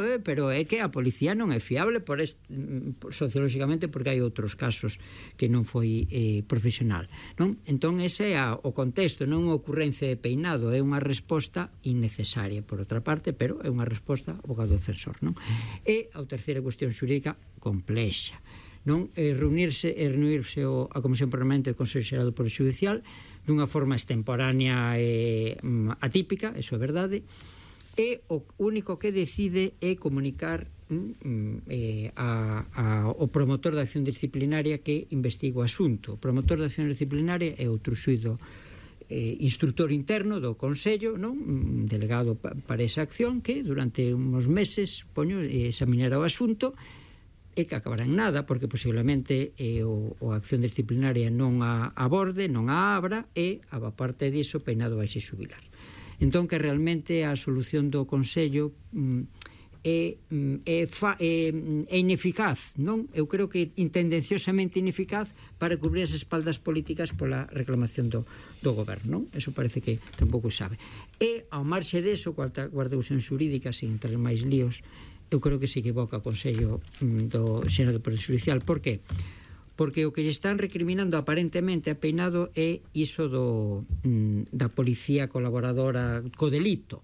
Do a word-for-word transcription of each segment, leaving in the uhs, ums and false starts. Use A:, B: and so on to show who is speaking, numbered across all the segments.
A: fiable, pero é que a policía non é fiable por este, sociolóxicamente, porque hai outros casos que non foi eh, profesional, non? Entón ese é a, o contexto, non unha ocurrencia de Peinado, é unha resposta innecesaria, por outra parte, pero é unha resposta abogado defensor, non? E a terceira cuestión xurídica complexa, non? É reunirse, é reunirse o, a Comisión Permanente do Consello Xeral do Poder Judicial dunha forma extemporánea e atípica, eso é verdade, e o único que decide é comunicar mm, eh, a, a, o promotor da acción disciplinaria que investiga o asunto. O promotor da acción disciplinaria é outro xuído eh, instructor interno do Consello, non? Delegado pa, para esa acción, que durante uns meses, poño, examinará o asunto e que acabará en nada, porque posiblemente eh, o, o acción disciplinaria non a aborde, non a abra, e a parte diso Peinado vai se xubilar. Entón que realmente a solución do Consello mm, é, é, fa, é, é ineficaz, non? Eu creo que intendenciosamente ineficaz para cubrir as espaldas políticas pola reclamación do, do goberno, non? Eso parece que tampouco sabe. E ao marxe deso, cuarta cuestión xurídica, sin entrar en máis líos, eu creo que se equivoca o Consello mm, do Xeral do Poder Judicial. Por que? Porque o que lle están recriminando aparentemente a Peinado é iso do, mm, da policía colaboradora co delito.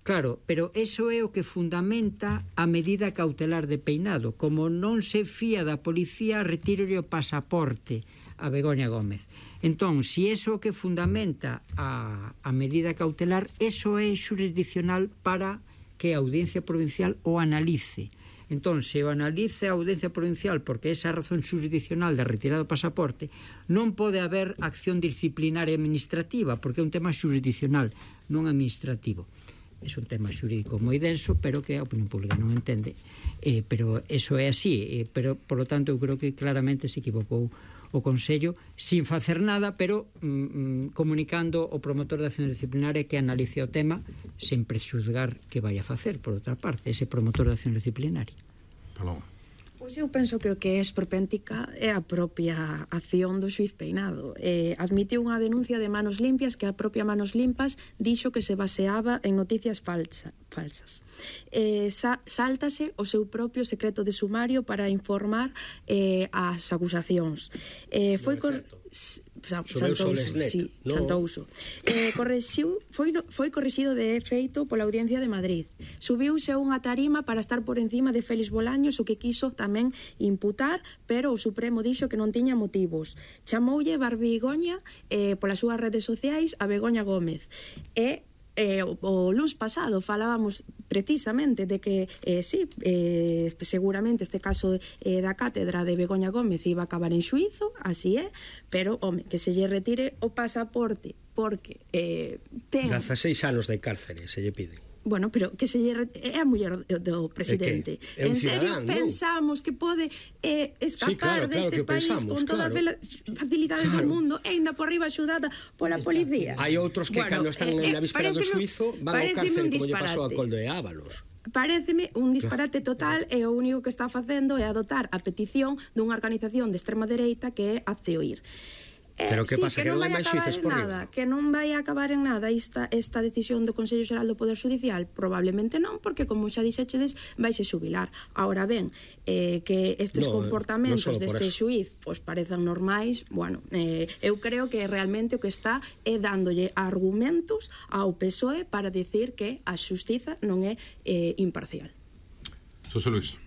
A: Claro, pero eso é o que fundamenta a medida cautelar de Peinado. Como non se fía da policía, retírolle o pasaporte a Begoña Gómez. Entón, se iso que fundamenta a, a medida cautelar, eso é xurisdiccional para que a Audiencia Provincial o analice. Entón, se o analice a Audiencia Provincial porque esa razón xurisdiccional de retirado do pasaporte, non pode haber acción disciplinaria administrativa, porque é un tema xurisdiccional, non administrativo. É un tema xurídico moi denso, pero que a opinión pública non entende. Eh, pero eso é así. Eh, pero, por lo tanto, eu creo que claramente se equivocou o Consello, sin facer nada, pero mm, comunicando o promotor da acción disciplinaria que analice o tema sen prexuzgar que vai a facer, por outra parte, ese promotor da acción disciplinaria.
B: Paloma.
C: Pois eu penso que o que é esperpéntica é a propia acción do xuiz Peinado. Eh, admitiu unha denuncia de Manos Limpias que a propia Manos Limpas dixo que se baseaba en noticias falsa, falsas. Eh, sa, sáltase o seu propio secreto de sumario para informar eh, as acusacións. Eh, foi cor... Saltouso, sí, no. saltouso. Eh, correxiu, foi, foi corrixido de feito pola Audiencia de Madrid. Subiuse a unha tarima para estar por encima de Félix Bolaños, o que quiso tamén imputar, pero o Supremo dixo que non tiña motivos. Chamoulle Barbigoña eh, polas súas redes sociais a Begoña Gómez. E Eh, o, o luns pasado falábamos precisamente de que eh, sí, eh, seguramente este caso eh, da cátedra de Begoña Gómez iba a acabar en xuízo, así é, pero, home, que se lle retire o pasaporte porque eh, ten...
D: dezaseis anos de cárcere se lle pide.
C: Bueno, pero que se lle é a muller do presidente.
D: É
C: en serio
D: cidadán,
C: pensamos no? que pode eh, escapar sí, claro, deste claro país pensamos, con toda claro. a facilidade claro. do mundo e ainda por riba axudada pola policía.
D: Hai outros que bueno, cando están eh, na víspera do suizo van ao cárcel como lle pasou a Coldo de Ábalos.
C: Paréceme un disparate total e o único que está facendo é adotar a petición dunha organización de extrema dereita que é Hazte Oír.
D: Pero que
C: sí,
D: pasa, que, que non hai máis xuíces por
C: nada, que non vai a acabar en nada esta, esta decisión do Consello Xeral do Poder Judicial? Probablemente non, porque como xa dixéchedes, vai se xubilar. Ahora ben, eh, que estes no, comportamentos no deste xuiz pois parezan normais, bueno, eh, eu creo que realmente o que está é dándolle argumentos ao P S O E para decir que a xustiza non é eh, imparcial.
B: Xosé Luis.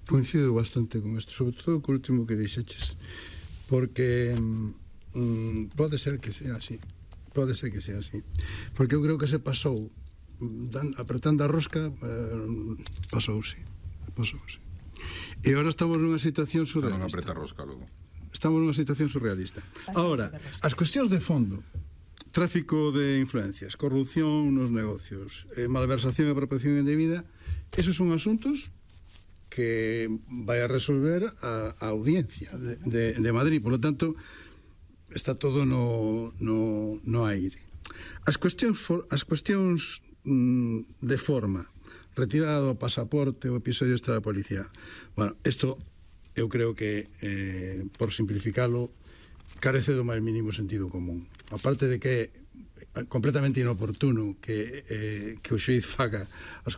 E: Coincido bastante con isto, sobre todo co último que dixeches, porque mm, pode ser que sea así, pode ser que sea así, porque eu creo que se pasou dan, apretando a rosca, eh, pasouse pasouse e agora estamos nunha situación surrealista.
B: Non apreta a rosca logo.
E: Estamos nunha situación surrealista. Ahora, as cuestións de fondo, tráfico de influencias, corrupción nos negocios, eh, malversación e apropiación indebida, esos son asuntos que vai a resolver a, a audiencia de, de, de Madrid. Por lo tanto, está todo no, no, no aire. As cuestións, for, as cuestións mm, de forma, retirada do pasaporte, o episodio este da policía. Bueno, isto eu creo que, eh, por simplificalo, carece do máis mínimo sentido común. Aparte de que é completamente inoportuno que, eh, que o xuiz faga as